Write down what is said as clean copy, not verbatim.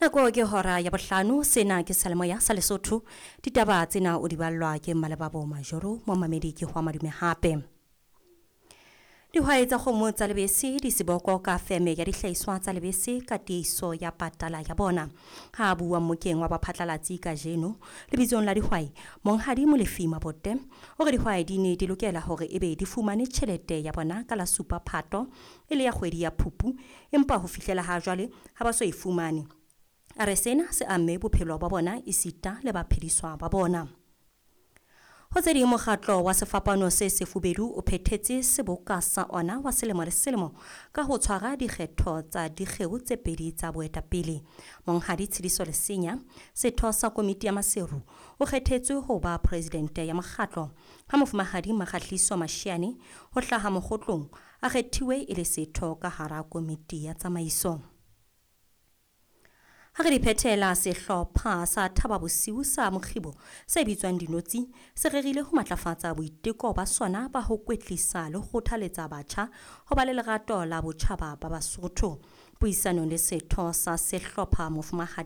Nako ke hora ya bohlano, sena ke Salemoya sa Lesotho. Ditaba tsena o di ballwa ke Mmalebabo Majoro, momamedi ke hwa madume hape. Dihwai tsa kgomo tsa lebese di seboko ka feme ya dihlahiswa tsa lebese ka tiiso ya patala ya bona. Ha a bua mmokeng wa baphatlalatsi kajeno lebitsong la dihwai, Monghadi Molefi Mabote o re dihwai di ne di lokela hore ebe di fumane tjhelete ya bona ka la 7 Phato e le ya kgwedi ya Phupu, empa ho fihlela ha jwale ha ba so e fumane. A re sena se amme bophelo ba bona esita le baphediswa ba bona. Ho tse ding, mokgatlo wa Sefapano se Sefubedu o phethetse seboka sa ona wa selemo le selemo ka ho tshwara dikgetho tsa dikgeo tse pedi tsa boetapele. Monghadi Tshidiso Lesenya, setho sa komiti ya Maseru, o kgethetswe ho ba presidente ya mokgatlo, ha mofumahadi Makgahliso Mashiane ho hlaha Mokgotlong a kgethiwe e le setho ka hara komiti ya tsamaiso. Ha re di phethela, sehlopha sa Thaba Bosiu sa Mokgibo se bitswang Dinotsi se rerile ho matlafatsa boiteko ba sona ba ho kwetlisa le ho kgothaletsa batjha ho ba le lerato la botjhaba ba Basotho. Puisanong le setho sa sehlopha mofumahadi